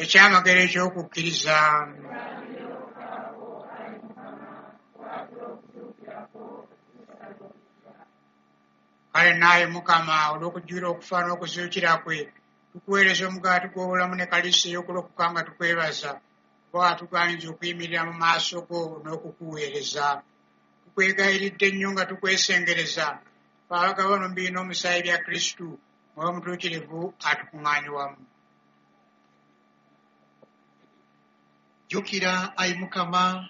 Ekyamagero eky'okukkiriza. Kale naaye Mukama, olw'okujjula okufa n'okuzuukira kwe, tukuweereza omugaati gw'obulamu ne kaliisi ey'okulokoka nga tukwebaza, kuba watugaanyiza okuyimirira mu maaso go n'okukuweereza. Tukwegayiridde nnyo nga tukwesengereza, ffe abagabana omubiri n'omusaayi bya Kristu, Mwoyo Mutuukirivu atukuŋŋaanye wamu. Jjukira, ayi Mukama,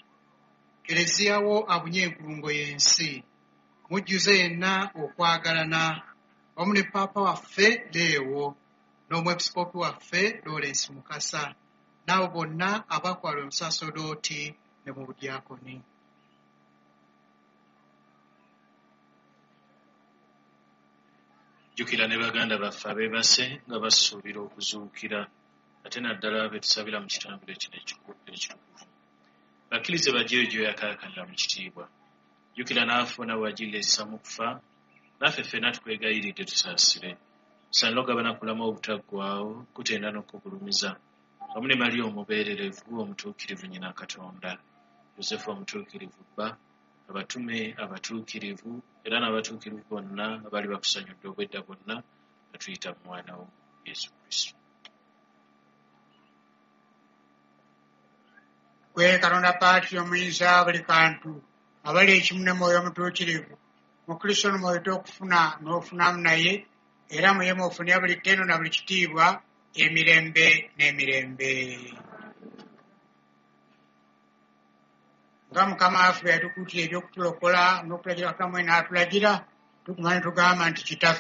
Keleziya wo abunye enkulungo y'ensi, mujjuze yenna okwagalana, wamu ne Paapa waffe Leewo, n'Omwepisikoopi waffe Lawrence Mukasa, n'abo bonna abakwalwa mu busaserdooti ne mu budyakoni. Jjukira ne baganda baffe abeebase nga basuubira okuzuukira, ate naddala be tusabira mu kitambiro kino ekitukuvu. Bakkirize bajje eyo gy'oyakaayakanira mu kitiibwa. Jjukira n'abafu bonna bwe wagirira ekisa mu kufa, naffe ffenna tukwegayiridde tusaasire. Tusaanire okugabana ku bulamu obutaggwaawo, kutenda n'okukugulumiza, wamu ne Mariya omubeererevu omutuukirivu nnyina Katonda, Yosefu omutuukirivu bba, abatume abatuukirivu era n'abatuukirivu bonna abaali bakusanyudde obwedda bwonna nga tuyita mu mwana wo Yesu Kristo. Ggwe Katonda Paatiri omuyinza buli kantu, abali ekimu ne Mwoyo Omutuukirivu, mu Kristo ono mw'oyita okufuna n'ofunamu naye, era mu ye mw'ofunira buli ttendo na buli kitiibwa emirembe n'emirembe. Nga Mukama waffe bwe yatukuutira eby'okutulokola n'okutulagira Katonda mwene n'atulagira, tuguma ne tugamba nti Kitaffe.